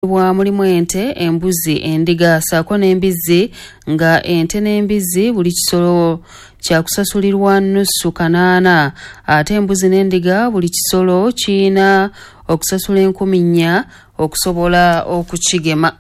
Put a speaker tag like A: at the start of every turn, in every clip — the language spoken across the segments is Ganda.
A: Bwa mulimu ente, embuzi, endiga ssaako n'embizzi nga ente n'embizzi buli kisolo kyakusasulirwa nnusu kanaana ate embuzi n'endiga buli kisolo kiyina okusasula 4000 okusobola okukigema.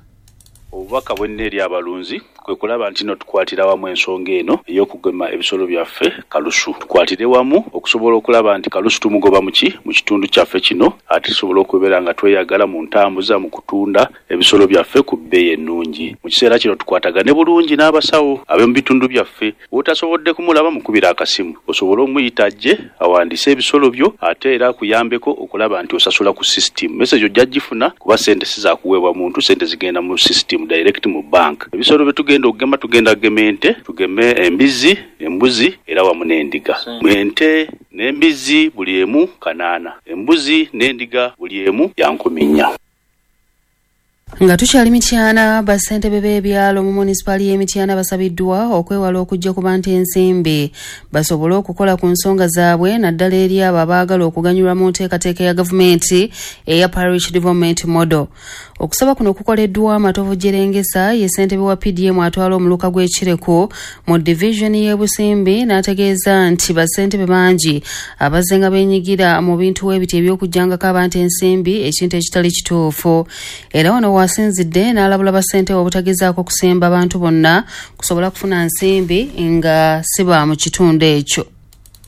B: Obubaka bwenina eri abalunzi kwe kulaba nti no tukwatira wamu ensonga eno ey'okugema ebisolo byaffe kalusu. Tukwatire wamu okusobola okulaba nti kalusu tumugoba mu ki mu kitundu kyaffe kino ate tusobole okubeera nga tweyagala mu ntambuza mu kutunda ebisolo byaffe ku bbeeyi ennungi. Mu kiseera kino tukwatagane bulungi n'abasawo ab'omu bitundu byaffe. W'otasobodde kumulaba mukubire akasimu osobole omuyita ajje awandiise ebisolo byo ate era akuyambeko okulaba nti osasula ku system. Message ojja gifuna kuba ssente si za kuweebwa muntu, ssente zigenda mu system direct mu bank. Ebisolo bye tugenda okugema tugenda kugema ente, tugeme embizzi, embuzi era wamu n'endiga. Ente n'embizzi buli emu kanaana, embuzi n'endiga buli emu ya 4000.
A: Nga tukyali Mityana, bassentebe b'ebyalo mu munisipaali y'e Mityana basabiddwa okwewala okujja ku bantu ensimbi basobole okukola ku nsonga zaabwe naddala eri abo abaagala okuganyulwa mu nteekateeka ya gavumenti eya Parish Development Model. Okusaba kuno kukoleddwa Matovu Jerengesa ye ssentebe wa PDM atwala omuluka gw'e Kireku mu divizoni y'e Busimbi n'ategeeza nti bassentebe bangi abazze nga beenyigira mu bintu ebiti eby'okuggyangako abantu ensimbi ekintu ekitali kituufu. Era wano wasinzidde n'alabula bassentebe obutagezaako kusemba abantu bonna kusobola kufuna nsimbi nga si ba mu kitundu ekyo.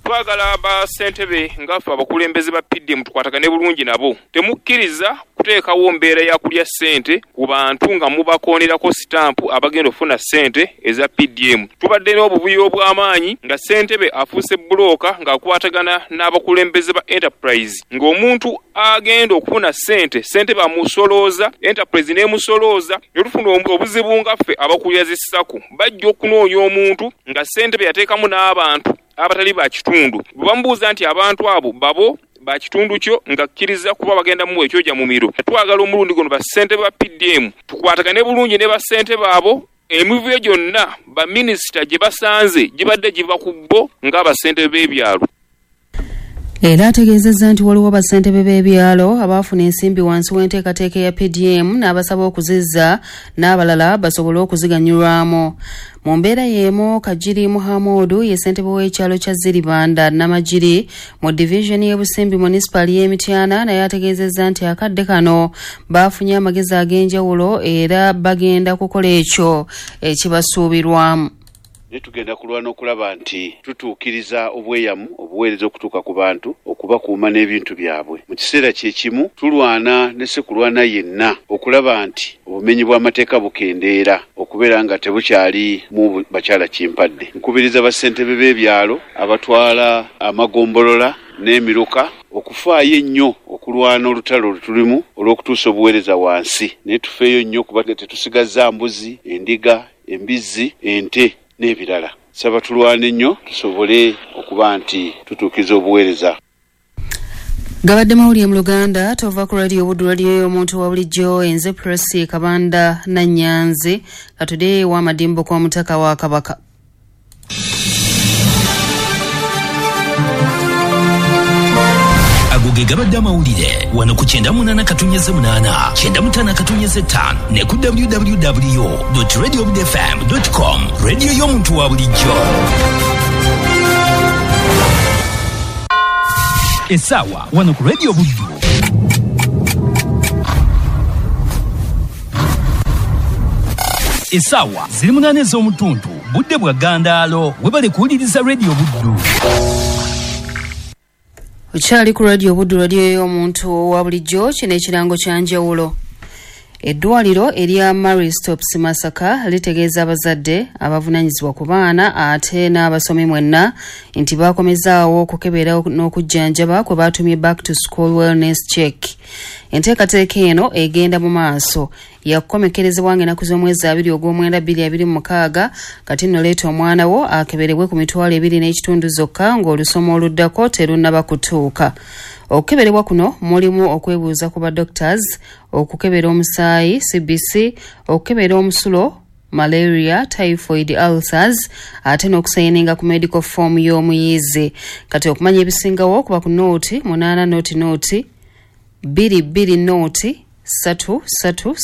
C: Twagala bassentebe nga ffe abakulembeze ba PDM tukwatagane bulungi nabo. Temukkiriza kuteekawo mbeera ya kulya ssente ku bantu nga mubakoonerako sitampu abagenda okufuna ssente eza PDM. Tubadde n'obuvuyo obw'amaanyi nga ssentebe afuuse bbulooka ng'akwatagana n'abakulembeze ba Enterprise ng'omuntu agenda okufuna ssente, ssentebe amusolooza, Enterprise n'emusolooza ne tufuna obuzibu nga ffe abakulira zi SACCO. Bajja okunoonya omuntu nga ssentebe yateekamu n'abantu abatali ba kitundu. Bwe bamubuuza nti abantu abo babo ba kitundu kyo ng'akkiriza kuba bagenda mumuwa ekyoja mumiro. Twagala omulundi guno bassentebe ba PDM tukwatagane bulungi ne bassentebe abo emivuyo gyonna baminisita gye basanze gibadde giva ku bo ng'abassentebe b'ebyalo.
A: Era ategeezezza nti waliwo bassentebe b'ebyalo abaafuna ensimbi wansi w'enteekateeka ya PDM n'abasaba okuzizza n'abalala basobole okuziganyulwamu. Mu mbeera y'emu Kajiri Muhamudu ye ssentebe w'ekyalo kya Ziribanda Namagiri mu divizoni y'e Busimbi munisipaali y'e Mityana naye ategeezezza nti akadde kano baafunye amagezi ag'enjawulo era bagenda kukola ekyo ekibasuubirwamu.
B: Naye tugenda kulwana okulaba nti tutuukiriza obweyamu obuweereza okutuuka ku bantu okubakuuma n'ebintu byabwe. Mu kiseera kye kimu tulwana ne ssekulwana yenna okulaba nti obumenyi bw'amateeka bukendeera okubeera nga tebukyali mu bakyala kimpadde. Nkubiriza bassentebe b'ebyalo abatwala amagombolola n'emiruka okufaayo ennyo okulwana olutalo lwe tulimu olw'okutuusa obuweereza wansi. Naye tufeeyo nnyo kuba tetusigazza mbuzi, endiga, embizzi, ente n'ebirala. Saba tulwane nnyo tusobole okuba nti tutuukiriza obuweereza.
A: Gabadde mawulire mu Luganda tova ku Radio Buddu, radio y'omuntu wa bulijjo. Enze Prossy Kabanda Nannyanzi katudde w'amadimbo kw'omutaka wa Kabaka.
D: Ago ge gabadde amawulire wano ku 98.8, 95.5 ne ku www.radiobudfm.com. Radio y'omuntu wa bulijjo. Essaawa wano ku Radio Buddu. Essaawa ziri 8 ez'omutuntu, budde bwa ggandaalo. Webale kuwuliriza Radio Buddu.
A: Okyali ku Radio Buddu, radio y'omuntu wa bulijjo. Kino ekirango kya njawulo. Eddwaliro erya Marie Stopes Masaka litegeeza abazadde abavunaanyizibwa ku baana ate n'abasomi mwenna nti bakomezaawo okukebera n'okujjanjaba kwe baatumye Back to School Wellness Check. Enteekateeka eno egenda mu maaso yakukomekerezebwa ng'ennaku z'omwezi 2 ogw'omwenda 2026. Kati nno leeta omwana wo akeberebwe ku 25,000 zokka ng'olusoma oluddako terunnaba kutuuka. Okukeberebwa kuno mulimu okwebuuza ku ba doctors, okukebera omusaayi CBC, okukebera omusulo, malaria, typhoid, ulcers ate n'okusayininga ku medical form y'omuyizi. Kati okumanya ebisingawo kuba ku 08 0 0 2 2 0 3 3.